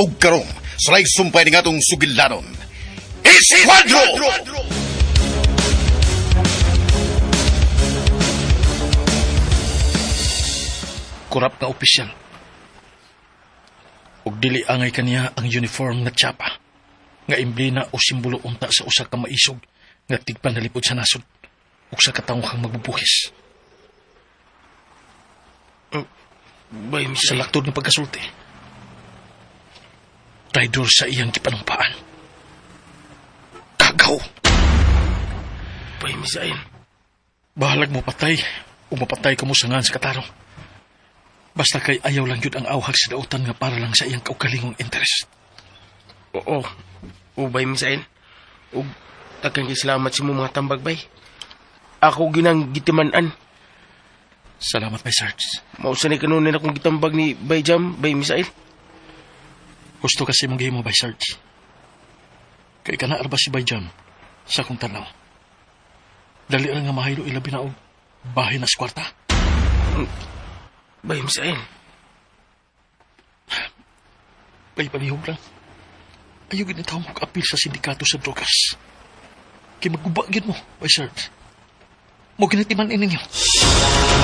Ug karon, sulay sumpay ni atong sugilanon. Esquadro! Kurap nga opisyal. Ug dili angay kaniya ang uniform nga tsapa, nga emblema o simbolo unta sa usa ka maisog nga tigpanalipod sa nasod ug sa katawhang magbubuhis. Bay, Sa Misael. laktod nga pagkasulti, traidor sa iyang gipanumpaan. Kagaw! Bay, Misael. Bahalag mo patay o mapatay ka mo sa ngan sa katarong. Basta kay ayaw lang yun ang awhag sa dautan nga para lang sa iyang kaugalingong interest. Oo. O, bay, Misael. O, tagang salamat sa imong mga tambag, bay. Ako ginang gitiman-an. Salamat, my Sarge. Mausa ni kanunin akong gitambag ni Bay Jam, Bay Misael. Gusto kasi mong gihimo, by Sarge. Kay kana arba si Bay Jam sa akong tanaw. Dali ra nga mahaylo ilabi na og bahin na sa kwarta. Bay Misael. Bay, palihog lang. Ayaw gid mo apil sa sindikato sa drogas. Kay magguba gyud mo, Bay Sarge. Mo ginatiman ninyo.